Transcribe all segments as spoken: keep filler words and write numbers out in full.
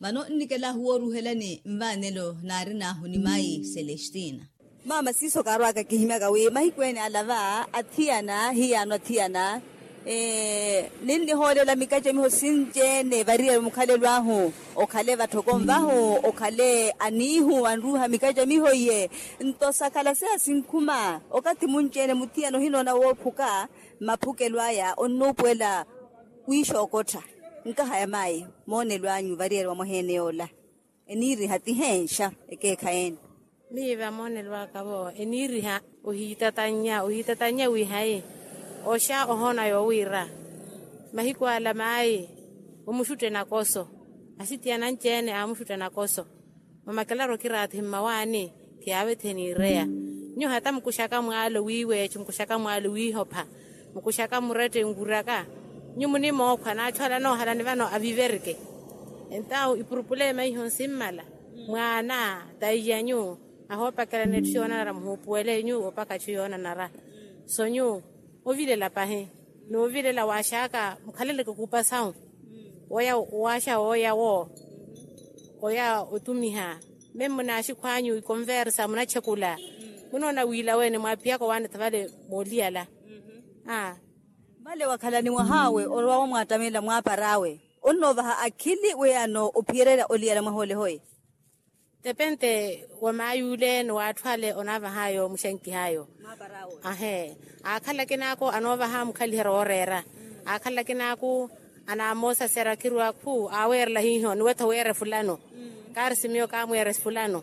Vano nnikela ahuworuhelani nvaanelo naarin'ahu ni mayi celestina. Maama siiso kaarwaka kihimyaka wi mahiku ene ala va athiyana hiyaano athiyana ninnihoolela mikacamiho sinci-ene variyari mukhalelo ahu. Okhale vatthoko nvahu okhale aniihu anruuha mikacamiho iye. Nto sakhala seya sinkhuma okathi munci-ene muthiyana ohinoona woophuka. Maphukelo aya onnuupuwela wiixookottha. Nkaha ya mayi moonelo anyu variyari wa mwaheene yoola eniiriha ti heenxa ekeekhayi ene. Miiva moonelo aka vo eniiriha ohiitatannya ohiitatannya wi hayi oxa ohoona yoowiira mahiku ala mayi omuxutte nakoso. Asitiyana anci-ene aamuxutta nakoso. Mamakelaru okiraathi mmawaani khiyaavethe niireya. Nyuwo hata mukuxaka mwaalo wiiweexe mukuxaka mwaalo wiihopha mukuxaka murette nkuraka. Nyuwo munimookhwa n'atthu ala anoohalani vano aviverike. Entawu ipurupulema iho nsimmala mwaana taiyanyu ahoopakelana etthu yoonanara muhuupuwele nyuwo opaka atthu yoonanara. So nyuwo ovilela pahi n'uvilela waaxaka mukhaleleke kuupa sawu. Woya waaxa wooya wo oya otumiha. Meme munaaxikhw'anyu ikonversa munatxekula munoona wiila weene mwaaphiyaka owaanetha vale mooliyala. Vale wakhalani mwah'awe orowa wamwaattamelela mwaapar'awe onnoovaha akhili weyano ophiyererya oliyala mwaha ole hoye. Tepente wa maay'ule ni w'atthu ale onaavah'ayo muxankih'ayo. Ahe aakhala akinaako anoovaha mukhaliherya ooreera. Aakhala akinaako anaamoosasera khiriwa khu aaweerela hiiho niwetha weera efulano. Kaari simiyo kaamweera efulano.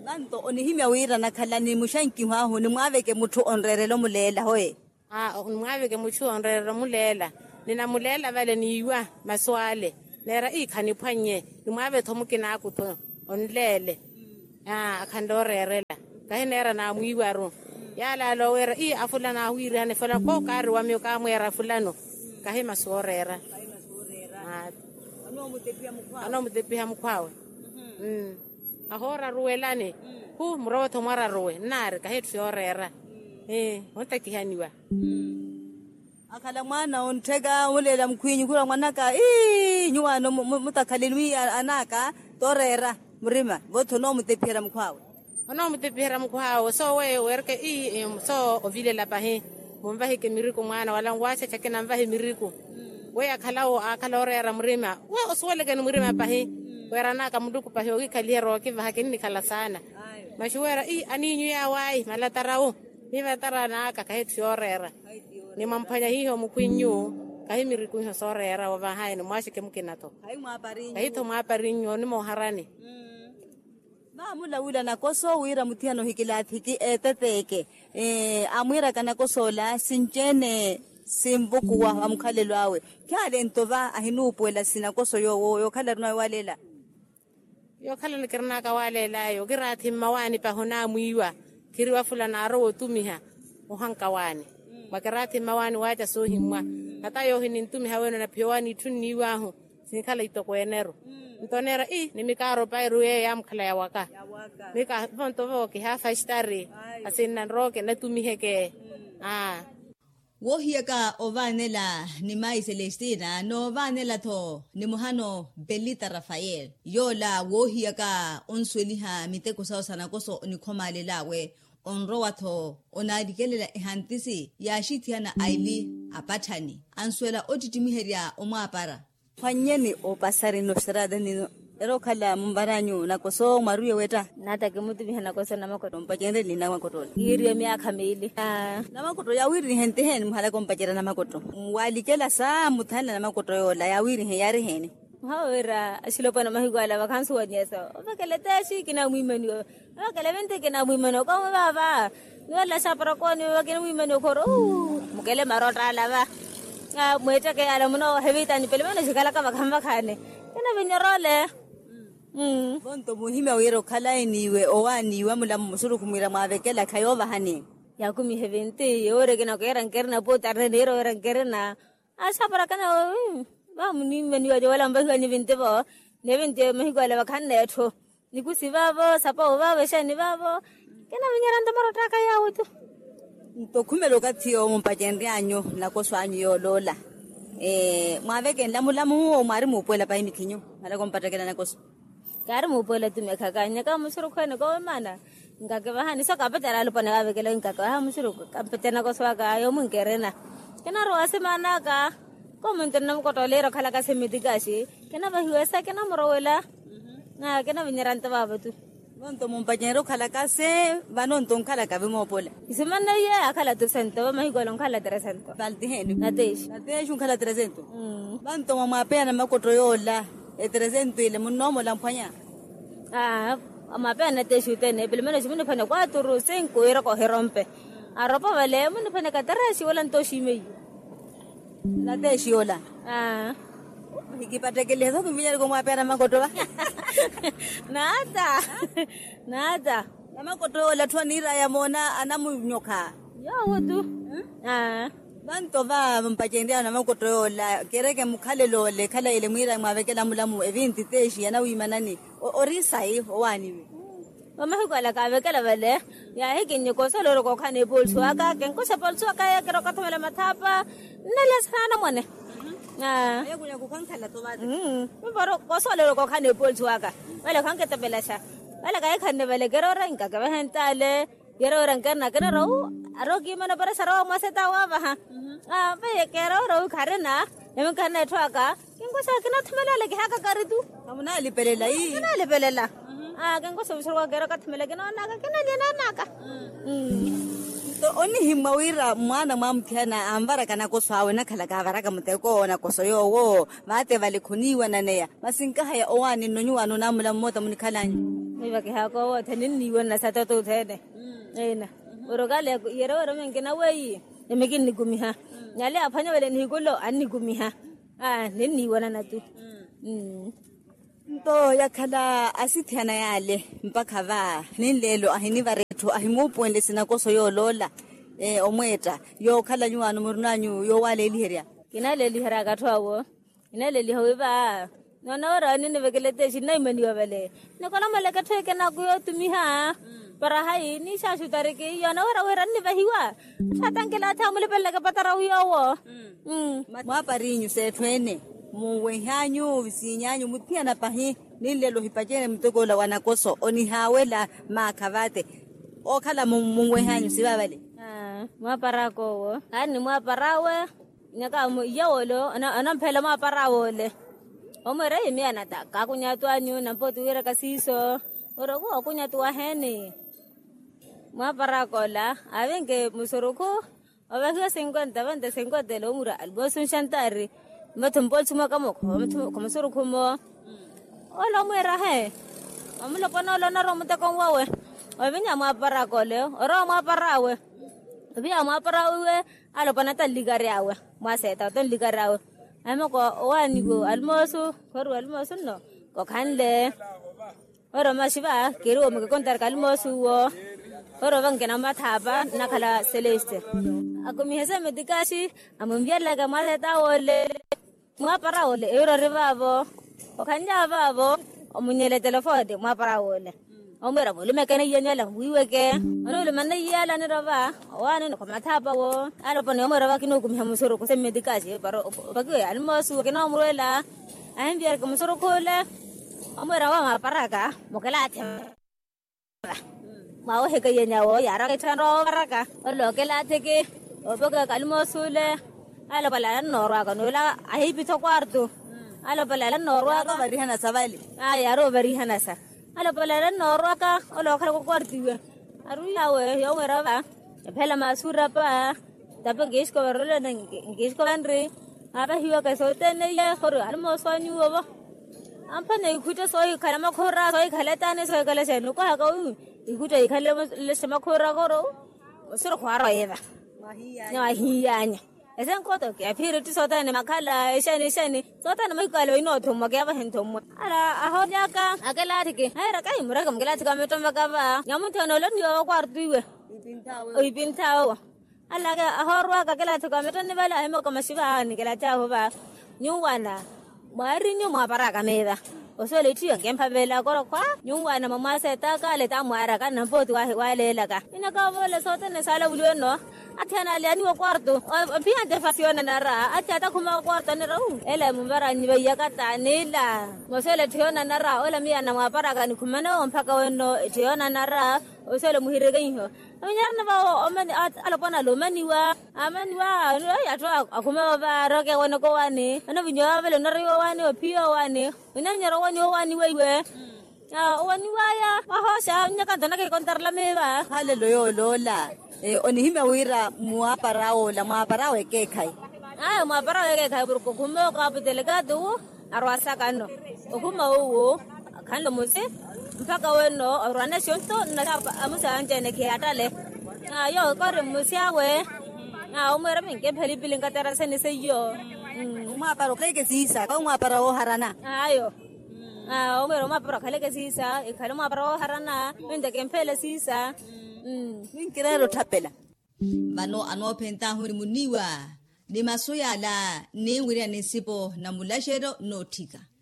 Vanto onihimya wira nakhalani muxankiho ahu nimwaaveke mutthu onreerela omuleela hoye. Nimwaaveke mutthu onreerela omuleela. Ninamuleela vale niiwa masu ale neera ii khaniphwannye. Nimwaave-tho mukinaaku-tho onleele. Akhanle oreerela kahi neera naamwiiwaru. Yaalaala oweera ii afulana ahu wiirihana efulana kookaari wa miyo kaamweera fulano. Kahi masu ooreera. Anoomutepiha mukhw'awe. Ahooraruwelani khu murowe-tho mwararuwe nnaari kahi etthu yooreera. Ontakihaniwa. Akhala mwaana onttheka omuleela mukhwinyu khura mwanaka ii nyuwaano mutakhaleni wi anaaka tooreera murima vo-tho onoomutepiherya mukhw'awe. Onoomutepiherya mukhw'awe sooweyo weereke ii soo ovilela pahi. Munvahike miriku mwaana wala nwaxaxakina nvahe miriku. Weyo akhalawo aakhala ooreera murima we osuwelekeni murima pahi. Weeran'aka muluku pahi ookikhaliherya ookivaha kinnikhala saana. Maxuweera ii aniinyu yaawayi malatarawu. Ni malatara n'aka kahi etthu yooreera. Ni mwamphwanya hiiho mukhwinyu kahi miriku iho sooreera wovahayani mwaaxeke mukina-tho. Kahi-tho mwaaparinnyu onimooharani. Vaamulawila nakoso wira muthiyana ohikilaathiki eeteteeke. Amwiiraka nakos'ola sinci-ene sinvukuwa va mukhalelo awe. Khaale nto va ahinuupuwela sinakoso yoowo yookhala arinawe waaleela. Yookhalani kirin'aka waaleel'ayo kiraathi mmawaani pahi onaamwiiwa. Khiriwa fulana aarowa otumiha ohanka waani. Mwa kiraathi mmawaani waaca soohimmwa. Hata yoohi nintumiha weene onaphiya owaani itthu nniiw'ahu. Sinikhala itokweene-ru. Nto oneera ii nimikaaro pairu yeeyo yaamukhala yawaka. Mika vonto vo kihaafa extari. Asinna nrooke natumiheke. Aa. Woohiyaka ovaanela ni mayi celestina noovaanela-tho ni muhano belita rafael. Yoola woohiyaka onsuweliha miteko sawe sa nakoso onikhomaalel'awe. Onrowa-tho onaarikelela ehantisi yaaxithiyana aili apatthani. Ansuwela ottittimiherya omwaapara. Phwannyeni opasari nno seraata nino. Era okhala mumvaranyu nakoso mwaruye wetta. Naata kimutumiha nakoso namakoto ompacenrye ni namakoto ole kiiriwe myaakha miili. Namakoto yaawiirinihe ntiheeni muhalaka ompacerya namakoto. Waalikela saamuthanela namakoto yoola yaawiirihe yaariheeni. Muhawe wira axilopwana mahiku ala vakhansuwanyesa ovekela eteexi kinamwiimaniwa. Vakele vinti kinamwimani okawe vaava. Niwela xaparakoni vakele mwimani okhoro. Mukele marotta ala va mweetteke yala muno hevitani pele meno xikalaka vakhanvakhani. Kinavinyoroole. Vonto muhimya wira okhala eniiwe owaaniiwa mulamo musurukhu mwira mwaavekela khayoovahani. Yakumihe vinti yoori kinakeera nkerina pooti arina niira oweera nkerina. Axaparakana. Vamunimaniwa jowela mvahiwani vinti vo. Ni vinti mahiku ala vakhanne etthu. Nikusi vaavo sapawo vaavo exeeni vaavo. Kinavinyerya nto marottaka yaawo tu. Nto khumela okathi yoowo mumpacenryanyu nakoso anyu yooloola. Mwaavekenle amulamu owo mwaari muupuwela pahi mithinyu? Mala kompattekela nakoso. Kaari muupuwela tumekhaka nyaka musurukhu ene koowemana. Nkakivahani so kapetera alupone waavekela nkakivaha musurukhu kampetera nakoso aka yoomu nkerena. Kinarowa simanaka. Komuntu nnamukottooleerya okhalaka simitikasi. Kinavahiwesa kinamurowela. Kinavinyerya nto vaavo tu. Vanto mumpacenrye okhalaka se. Vanonto onkhalaka vimoopola. Isimaneiye akhala tresento vamahiku ale onkhala tresento. Valtiheeni. Natexi. Natexi onkhala tresento. Vanto mwamwapeya namakotto yoola. Etresento ile munnoomola mphwanya. Aa mwamwapeya natexi othene epilomeno ximuniphwanya kwaturu sinku iiraka ohirompe. Aropa vale muniphwanya katerexi wala nto oximeiye. Nateexi yoola. Aa. Nikipattekelihe so tuminyereke omwaapera makotto va. Naata. Naata. Namakotto yoola atthu aniiraya moona anamunyokha. Yoowo tu. Aa. Vanto va mpacenryano namakotto yoola kereke mukhalelo ole khalayele mwiiraya mwaavekela mulamu evinti teexi yanawiimanani. Ori sayi owaaniwe. Vamahiku ala kaavekela vale. Yaahikinnye kosoolowere kookhana epolisi waka kenkosa epolisi waka yeekera okathomela mathaapa. Nnelesa naanamwane. Aa. Mimparo kosoolowere kookhana epolisi waka. Vale khankitepelaxa. Vale kahikhanne vale keroora inkakevahe ntaale. Yeroora nkerina kinarwa wu. Ari okiimana operesa arowa mwaseta waavaha. Aa vale keroora wu kharina. Yamikharina etthu aka. Kinkosa kinathumela ale kihaka kari tu. Kamunalipelela ii. Kinalipelela. Aa kinkosa ovisoruka kero kathumela kinoonaka kinalyananaka. Nto onihimwa wira mwaana mwa muthiyana anvaraka nakoso awe nakhala kaavaraka muteko nakoso yoowo. Vaate vale khoniiwananeya. Masi nkahaya owaani nno nyuwaano naamula mmoota munikhalanyu. Miva kihaka owo othene nniiwanana sa toto othene. Ina. Orokale yere wira minkina weiyi. Emikinnikumiha. Nyale aphwanya vale nihikulo annikumiha. Aa ninniiwanana tu. Nto yakhala asithiyana yaale mpakha va ninleelo ahinivara etthu ahimuupuwenle sinakoso yooloola. Omweetta yookhala nyuwaano murinanyu yoowaleeliherya. Kinaleeliheryaka atthu awo. Kinaleeliha wi va noona wira ninivekela eteexi nnaimaniwa vale. Nikolomeleke etthu ekinaku yootumiha. Para hayi niixaaxutariki yoona wira wira nnivahiwa. Atthu atankilaatha amulipeleleke patara wi yoowo. Mwaaparinyu s'etthu ene. Munwehanyu visiinyanyu muthiyana pahi. Ninlelo ohipacene muteko ola wa nakoso onihaawela maakha vaate. Ookhala munwehanyu sivaavale. Mwaaparaka owo. Aari ni mwaaparawe. Nyaka iye wole. Onamphela mwaaparawe ole. Omweera yimiyana ta kaakunyatu anyu nampa otuwiiraka siiso. Ori okuwa okunyatu waheeni. Mwaaparaaka ola aavinke musurukhu. Ovahiwa sinkwenta vente sinkwenta ele omura alimosi onxantaari. Mmatho mpoolisi mwakamo khamusurukhu mmo. Ole omwiirahe. Omulopwana ole onarwa omutekoni wawe. Ovinya mwaaparaaka ole orowa mwaaparawe. Ovinya mwaaparawe iwe. Alopwana ata nlikary'awe. Mwaseeta ata nlikary'awe. Ahimoko owaaniwe alimoosu. Khoriwa alimoosu nno kokhanle. Oro maxiva keriwa omukeke ontarika alimoosu uwo. Oro vankina mmathaapa nnakhala celeste. Akumihe semetikasi. Amunviyalelaka mwaseeta wole. Mwaapara wole ewira ori vaavo. Okhanly'awe vaavo. Omunyela etelefoni mwaapara wole. Omwiira mulumeke neiyanyu ala mwiiweke. Onuluma neiyala nirova. Owaani nokhomathaapa wo. Aloponi omwiira vakinukumiha musurukhu semmetikasi para opakiwe alimoosu kinoomurwela. Ahinviyereke musurukhu ole. Omwiira wa mwaparaka mukelaathe. Mwawoheke yenyawo yaaraka etthu anrowa woovaraka. Ole okelaatheke. Opeke kalimoosi ole. Alopale alannoorwaka n'ula ahiipitha okwartu. Alopale alannoorwaka. Yaari ovarihanasa vale. Ayi yaari ovarihanasa. Alopale alannoorwaka. Ole ookhalaka okwartu iwe. Aruiyawe yoomwirava. Ephela maasuurapa. Tape nkiixiko varolene nkiixiko vanri. Aapahiwaka sothene iye khori alimoosi wa nyuwo vo. Amphane ikhutta soohikhala makhura soohikhala etaani soohikhala exeeni okohaka wi. Ikhutta ikhale lexe makhura koro. Osiro khwaara oyiva. Niwahiyanya. Esenkoto kiyaphiri tti sothene makhala exeeni exeeni. Sothene mahiku ale vainoothommwa kiyavahe nthommwa. Ala ahoonyaka. Akelaathiki ahiira kahi mureke mukelaathiki amittomvaka va nyamunthene ole onniiwa vakwartu iwe. Oipinthawe owo. Alaka ahoorwaka kelaathiki wa mitoni vale ahimoko maxiva awo nikelaathahu va. Nyuwana mwaarinyu mwaaparaka meeva. Osuwela itthiyo nkemphavela akorokhwa nyuwaana mwa mwaaseetaka ale tamwaaraka nampooti waleelaka. Inakavoola sothene saalavuliwe-no. Atthi analyaniwa okwarto ophiyantte fasi yoonanara. Atthi atakhuma okwarto anira ela emuvaranyi vaiyaka taanila. Mosuwela etthu yoonanara ola miyo anamwaaparaka nikhumana owo mpakha wenno etthu yoonanara. Osuwela muhirekenho. Aminyarana vawo. Alopwana ala omaniwa amaniwa. Atthu akhuma vavaaraka ewanaka owani anavinyo yavavela onariwa owani ophiya owani. Winavinyara owani owani weiwe. Owani waya wahosha nyaka ntonaka ikontarela miiva. Halelo yooloola. Onihimya wira mwaapara awo ola mwaapara awo ekeekhayi. Aya mwaapara awo ekeekhayi porke okhuma okaapitelekati wu arwaasaka nno. Okhuma uwu akhanle musi mpakha wenno orwaana exonto nnatapa amusa anjene khiyattale. Ayo kori mmusi awe. Omweera minkemphe lipili nkataraseni seiyo. Omwaapara okhaleke siisa khawe omwaapara wooharana. Ayo. Omweera omwaapara okhaleke siisa ekhale omwaapara wooharana. Minteke mpheele siisa. Minkireera otthapela. Vano anoophentahu ni muniwa ni masu yala nniwirya ni nsipo na mulaxeryo nnootthika.